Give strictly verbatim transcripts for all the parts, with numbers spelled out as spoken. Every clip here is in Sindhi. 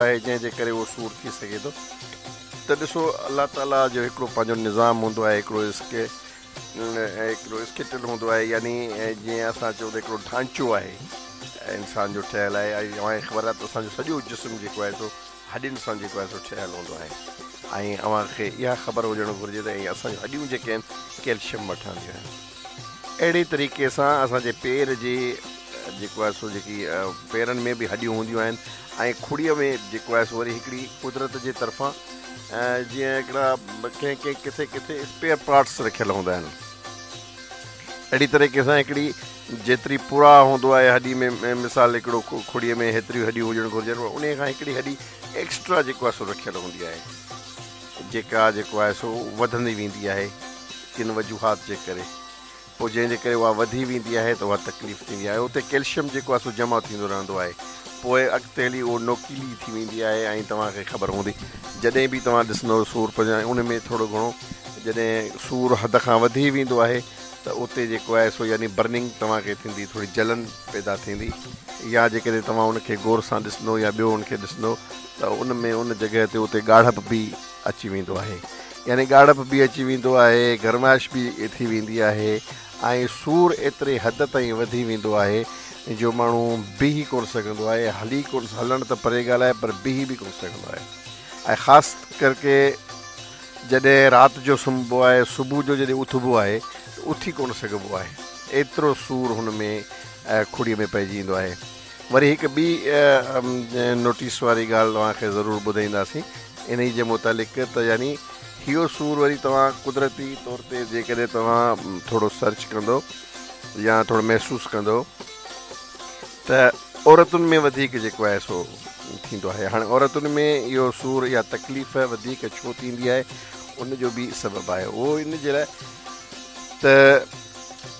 آهي جنهن جي ڪري اهو سور ٿي سگهي ٿو. ته ڏسو، الله تعاليٰ جو هڪڙو پنهنجو نظام هوندو آهي، هڪڙو اسڪي هڪڙو اسڪيٽل هوندو آهي، يعني جيئن اسان چئون ته هڪڙو ڍانچو آهي انسان جو ٺهيل آهي. ۽ اوهان کي خبر آهي ته اسان جو سڄو جسم جيڪو آهي سو هڏين سان جيڪو آهي سو ٺهيل هوندو آهي، ۽ اوهان کي اها خبر هجڻ گهرجي ته ۽ اسان جون هڏيون جيڪي آهن ڪيلشيم مان ٺهنديون آهن. اهڙي طريقي سان اسان جي پير جي جيڪو آهي سو جيڪي پيرن ۾ به هڏيون هونديون آهن، ۽ کڙيء ۾ جيڪو آهي سو وري هڪڙي قدرت جي طرفان جيئن هڪڙا ڪنهن ڪنهن ڪٿي ڪٿي اسپيئر پارٽس رکيل هوندا آهن، اهڙي طريقي سان هڪڙي جيتري پورا هوندو آهي هڏي ۾، مثال هڪڙو کڙيء ۾ هيتريون هڏيون هجڻ گهرجن، ان کان هڪڙي هڏي ايڪسٽرا جيڪو آهي سو رکيل هوندي آهي، جيڪا جيڪو آهي سو وڌندي ويندي آهي ڪن وجوهات جي ڪري. پوء جنهن جي ڪري اها وڌي ويندي آهي ته اها تڪليف ٿيندي آهي. اتي ڪيلشيم جيڪو آهي سو جمع ٿيندو رهندو آهي، پوء اڳتي هلي اهو نوڪيلي ٿي ويندي آهي. ۽ توهان کي خبر هوندي، جڏهن به توهان ڏسندو سور پنهنجا ان ۾ ٿورو گهڻو جڏهن سور حد کان وڌي ويندو آهي ته اتي جيڪو آهي سو يعني برننگ توهان کي ٿيندي، ٿوري جلن پيدا ٿيندي، يا جيڪڏهن توهان ان کي غور سان ڏسندو يا ٻيو ان کي ڏسندو ته ان ۾ ان جڳهه تي اتي ڳاڙهپ به اچي ويندو آهي، يعني ڳاڙهپ به اچي ويندو آهي، گرمائش به ٿي ويندي آهي، ۽ سور ايتري حد تائين وڌي ويندو آهي جو ماڻهو بيهي ڪونه سگهندو آهي، هلي ڪونه، هلڻ ته پري ڳالهه آهي، پر بيهي به ڪونه سگهندو آهي. ۽ خاص ڪرڪي جڏهن رات جو سمهبو آهي، صبح جو جڏهن اٿبو آهي ته اٿي ڪونه سگهبو آهي، ايترو سور هن ۾ کڙيء ۾ پئجي ايندو آهي. وري هڪ ٻي نوٽيس واري ڳالهه توهان کي ضرور ٻڌائينداسين انهي جي متعلق، ته يعني اهو سور وري توهان قدرتي طور تي جيڪڏهن توهان ٿورو سرچ ڪندو يا ٿورو محسوس ڪندو ته عورتن ۾ وڌيڪ جيڪو آهي سو ٿيندو آهي. هاڻي عورتن ۾ اهو سور يا تڪليف وڌيڪ ڇو ٿيندي آهي، ان جو به سبب آهي. اهو ان جي لاء ته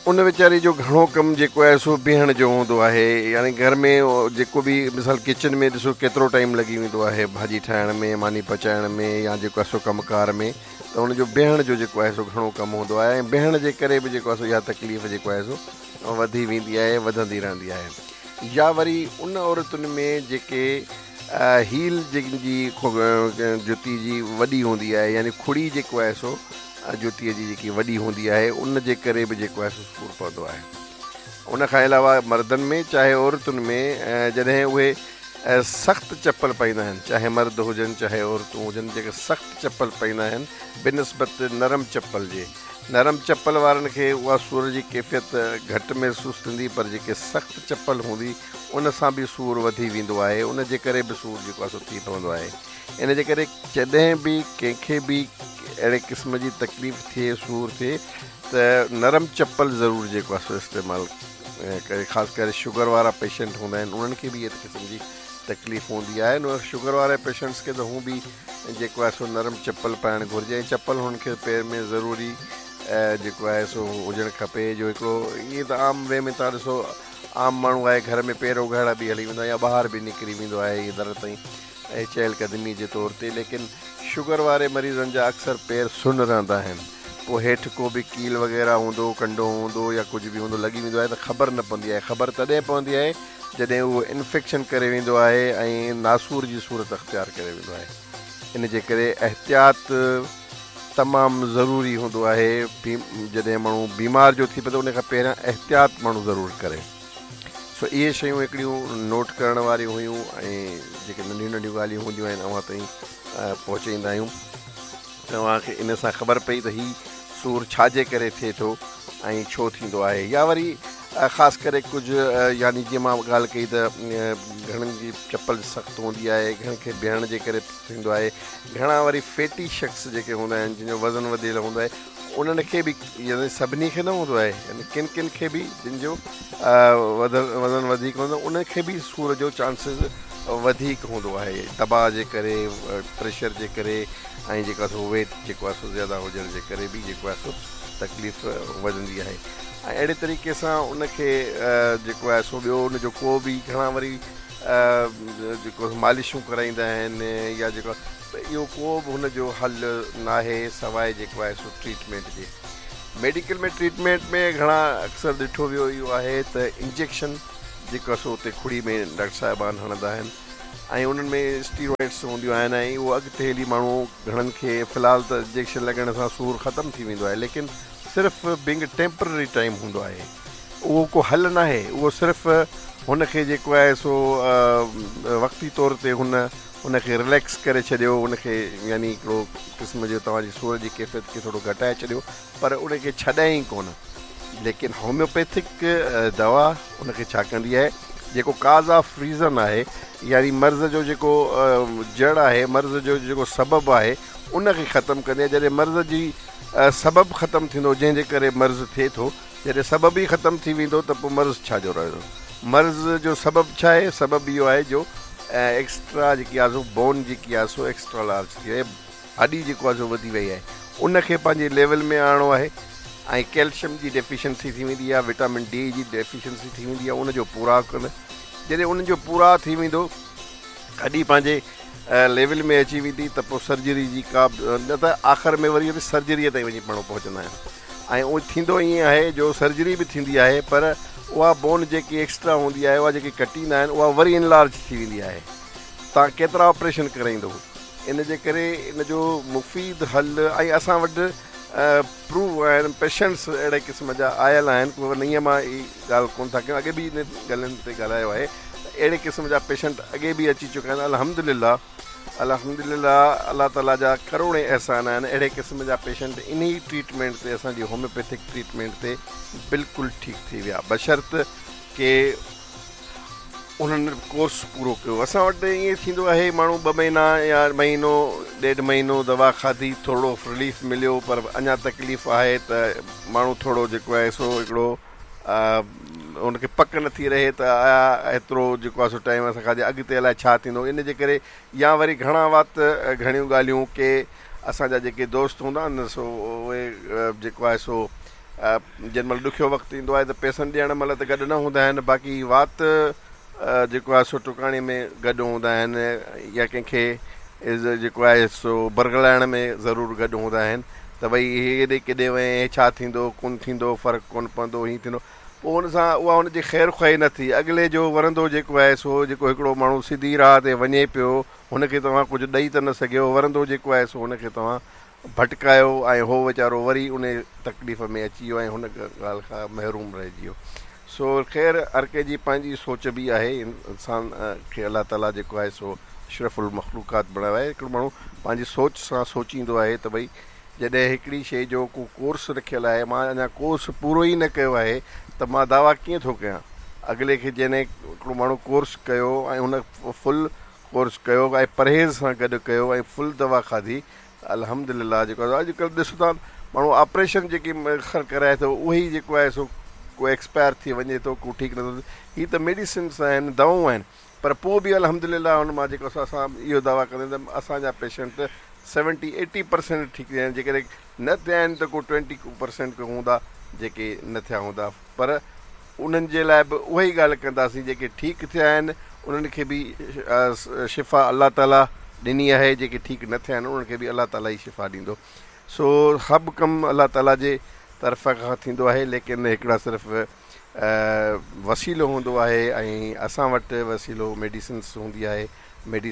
ان ويچاري جو گهڻو ڪم جيڪو آهي سو بيهڻ جو هوندو آهي، يعني گهر ۾ جيڪو به مثال ڪچن ۾ ڏسو ڪيترو ٽائيم لڳي ويندو آهي ڀاڄي ٺاهڻ ۾ ماني پچائڻ ۾ يا جيڪو آهي سو ڪم ڪار ۾، ته ان جو بيهڻ جو جيڪو آهي سو گهڻو ڪم هوندو آهي، ۽ بيهڻ جي ڪري به جيڪو آهي سو اها تڪليف جيڪو آهي سو وڌي ويندي آهي، وڌندي رهندي آهي. يا وري ان عورتن ۾ جيڪي هيل جن جي جتي جي وڏي هوندي آهي، يعني کڙي جيڪو آهي سو جتيء جي جيڪي وڏي هوندي آهي، ان جي ڪري به جيڪو آهي سو سور پوندو آهي. ان کان علاوه مردن ۾ چاهي عورتن ۾ جڏهن اهي سخت چپل پائيندا آهن، چاهي مرد هجن چاهي عورتون هجن، جيڪي سخت چپل پائيندا آهن بنسبت نرم چپل جي، نرم چپل وارن کي اها سور جي ڪيفيت گهٽ محسوس ٿيندي، پر جيڪي سخت چپل هوندي ان سان به سور وڌي ويندو آهي، ان جي ڪري به سور جيڪو آهي سو ٿي پوندو آهي. ان جي ڪري جڏهن به ڪنهن کي به اهڙي قسم جي تڪليف ٿئي، سور ٿئي، ته نرم چپل ضرور جيڪو آهي سو استعمال ڪري. خاص ڪري شگر وارا پيشنٽ هوندا آهن، انهن کي به اهي قسم جي تڪليف هوندي آهي. شگر واري پيشنٽس کي ته هون به جيڪو آهي سو نرم چپل پائڻ گهرجي، ۽ چپل هنن کي پير ۾ ضروري جيڪو آهي سو هجڻ کپي. جو هڪڙو ائين ته عام وي ۾ تان ڏسو عام ماڻهو آهي، گهر ۾ پير اگهاڙا به هلي ويندو آهي يا ٻاهر به نڪري ويندو آهي ائين در تائين ۽ چهل قدمي جي طور تي، ليڪن شگر واري مريضن جا اڪثر پير سن رهندا آهن، پوء هيٺ ڪو به ڪيل وغيره هوندو، ڪنڊو هوندو يا ڪجهه به هوندو، لڳي ويندو آهي ته خبر نه پوندي آهي. خبر تڏهن پوندي آهي جڏهن اهو انفيڪشن ڪري ويندو آهي ۽ ناسور جي صورت اختيار ڪري ويندو آهي. ان جي ڪري احتياط تمام ضروري هوندو آهي. جڏهن ماڻهو بيمار جو ٿي پوي ته ان کان پهريان احتياط ماڻهو ضرور ڪري. سو اهي شيون هڪڙيون نوٽ ڪرڻ واريون هيون، ۽ جيڪي ننڍيون ننڍيون ڳالهيون هونديون آهن اوهان تائين پهچائيندا آهيون. توهان کي ان سان خبر پئي ته هي سور ڇا جي ڪري ٿئي ٿو ۽ ڇو ٿيندو آهي. يا وري خاص ڪري ڪجهه يعني جيئن مان ڳالهه ڪئي ته گهڻن جي چپل سخت هوندي آهي، گهڻن کي بيهڻ جي ڪري ٿيندو آهي، گهڻا وري فيٽي شخص جيڪي هوندا آهن جن جو وزن وڌيل هوندو آهي انهن کي به، يعني سڀني کي نه هوندو آهي، يعني ڪن ڪن کي به جن جو وزن وڌيڪ هوندو آهي انهن کي به سور جو چانسز وڌيڪ هوندو آهي، دٻاء جي ڪري، پريشر جي ڪري، ۽ جيڪو آهي سو ويٽ جيڪو آهي سو زياده هجڻ جي ڪري به جيڪو آهي سو تڪليف وڌندي آهي. ۽ اهڙي طريقي سان ان کي جيڪو آهي سو ٻيو ان جو ڪو به گهڻا وري جيڪو مالشون ڪرائيندا آهن يا جيڪو، اهو ڪو به هن جو حل ناهي سواء جيڪو آهي سو ٽريٽمينٽ جي. ميڊيڪل ۾ ٽريٽمينٽ ۾ گهڻا اڪثر ڏٺو ويو اهو آهي ته انجيڪشن جيڪو آهي سو اتي کڙي ۾ ڊاڪٽر صاحبان هڻندا آهن، ۽ انهن ۾ اسٽيرائڊس هونديون آهن ۽ اهو اڳتي هلي ماڻهو گهڻن کي في الحال ته انجيڪشن لڳڻ سان سور ختم ٿي ويندو آهي، ليڪن صرف بينگ ٽيمپرري ٽائيم هوندو آهي، اهو ڪو حل ناهي. اهو صرف هن کي جيڪو آهي سو وقتي طور تي هن ان کي رليڪس ڪري ڇڏيو، ان کي يعني هڪڙو قسم جو توهان جي سور جي ڪيفيت کي ٿورو گهٽائي ڇڏيو، پر ان کي ڇڏائي ئي ڪونه. ليڪن هوميوپيٿڪ دوا ان کي ڇا ڪندي آهي، جيڪو ڪاز آف ريزن آهي، يعني مرض جو جيڪو جڙ آهي، مرض جو جيڪو سبب آهي، ان کي ختم ڪندي آهي. جڏهن مرض جي سبب ختم ٿيندو، جنهن جي ڪري مرض ٿئي ٿو، جڏهن سبب ئي ختم ٿي ويندو ته پوء مرض ڇا جو رهندو؟ مرض جو سبب ڇا آهي؟ سبب اهو آهي جو ايڪسٽرا جيڪي آهي سو بون جيڪي آهي سو ايڪسٽرا لارج ٿي وئي، هڏي جيڪو آهي سو وڌي وئي آهي، ان کي پنهنجي ليول ۾ آڻڻو آهي. ۽ ڪيلشم جي ڊيفيشنسي ٿي ويندي آهي، وٽامن ڊي جي ڊيفيشنسي ٿي ويندي آهي، ان جو پورا ڪن. جڏهن انهن جو پورا ٿي ويندو، هڏي پنهنجي ليول ۾ اچي ويندي ته پوء سرجري جي ڪا نه ته آخر ۾ وري سرجريء تائين وڃي ماڻهو پهچندا آهن. ۽ اهو ٿيندو ائين آهي جو سرجري به ٿيندي آهي، پر اها بون جيڪي ايڪسٽرا هوندي آهي، اها جيڪي ڪٽيندا آهن، اها وري انلارج ٿي ويندي آهي. توهان ڪيترا آپريشن ڪرائيندو؟ ان جي ڪري ان جو مفيد حل، ۽ اسان وٽ پروو آهن، پيشنٽس اهڙي قسم جا آيل آهن، ڪو نئين مان هي ڳالهه ڪونه ٿا ڪيون، اڳي به ان ڳالهين تي ڳالهايو آهي ته اهڙي قسم جا پيشنٽ اڳي به اچي چڪا آهن. الحمدلله الحمدلله الله تعالي جا ڪروڙين احسان آهن، اهڙي قسم جا پيشنٽ انهي ٽريٽمينٽ تي، اسان جي هوميوپيٿڪ ٽريٽمينٽ تي بلڪل ٺيڪ ٿي ويا، بشرط ڪي انهن ڪورس پورو ڪيو. اسان وٽ ائين ٿيندو آهي، ماڻهو ٻه مهينا يا مهينو ڏيڍ مهينو دوا کاڌي، ٿورو رليف مليو، پر اڃا تڪليف آهي ته ماڻهو ٿورو جيڪو آهي سو هڪڙو ان کي پڪ نٿي رهي ته آيا ايترو جيڪو آهي سو ٽائيم اسان کاڌي، اڳتي الائي ڇا ٿيندو. ان جي ڪري يا وري گهڻا وات گهڻيون ڳالهيون، ڪي اسان جا جيڪي دوست هوندا آهن سو اهي جيڪو آهي سو جنهن مهل ڏکيو وقت ايندو آهي ته پئسن ڏيڻ مهل ته گڏ نه هوندا آهن، باقي وات جيڪو آهي سو ٽڪاڻي ۾ گڏ هوندا آهن، يا ڪنهن کي جيڪو آهي سو برغلائڻ ۾ ضرور گڏ هوندا آهن ته ڀئي هي هيڏي ڪيڏي وئين، هي ڇا ٿيندو ڪونه ٿيندو، فرق ڪونه پوندو، هيئن ٿيندو. پوء ان سان اها هن جي خير خواهي نه ٿي. اڳلي جو ورندو جيڪو آهي سو جيڪو هڪڙو ماڻهو سڌي راهه تي وڃي پيو، هن کي توهان ڪجهه ڏئي ته نه سگهيو، ورندو جيڪو آهي سو هن کي توهان ڀٽڪايو ۽ هو ويچارو وري ان تڪليف ۾ اچي ويو ۽ هن ڳالهه کان محروم رهجي ويو. سو خير هر ڪنهن جي پنهنجي سوچ به آهي. انسان کي الله تعاليٰ جيڪو آهي سو اشرف المخلوقات بڻايو آهي. هڪڙو ماڻهو پنهنجي سوچ سان سوچيندو آهي ته ڀئي جڏهن هڪڙي شيء جو ڪو ڪورس رکيل آهي، مان اڃا ڪورس پورو ئي نه ڪيو آهي ته مان دعويٰ ڪيئن ٿو ڪيان؟ اڳلي کي جنهن هڪڙو ماڻهو ڪورس ڪيو ۽ هن فل ڪورس ڪيو ۽ پرهيز سان گڏ ڪيو ۽ فل دوا کاڌي، الحمدلله جيڪو آهي اڄڪلهه ڏسو ٿا ماڻهو آپريشن جيڪي خر ڪرائي ٿو اهي ئي جيڪو آهي سو ڪو ايڪسپائر ٿي وڃي ٿو، ڪو ٺيڪ نٿو ٿئي. هي ته ميڊيسنس آهن، دوائون آهن، پر پوء به الحمدلله هن مان جيڪو اسان اهو دعويٰ ڪندا آهيون ته اسان جا پيشنٽ سيونٽي ايٽي پرسينٽ ٺيڪ ٿيا آهن. جيڪڏهن نه ٿيا آهن ته ڪو ٽوئنٽي پرسينٽ ڪو هوندا جيڪي نه ٿيا هوندا، پر انهن جي لاء به اها ئي ڳالهه ڪنداسين، جيڪي ٺيڪ ٿيا آهن انهن کي به شفا الله تعاليٰ ڏني آهي، جيڪي ٺيڪ نه ٿيا آهن انهن کي به الله تعاليٰ ئي شفا ڏيندو. سو سڀ ڪم الله تعاليٰ جي طرف کان ٿيندو آهي، ليڪن هڪڙا صرف وسيلو هوندو آهي ۽ اسان وٽ وسيلو ميڊيسنس هوندي آهي. ميڊيسن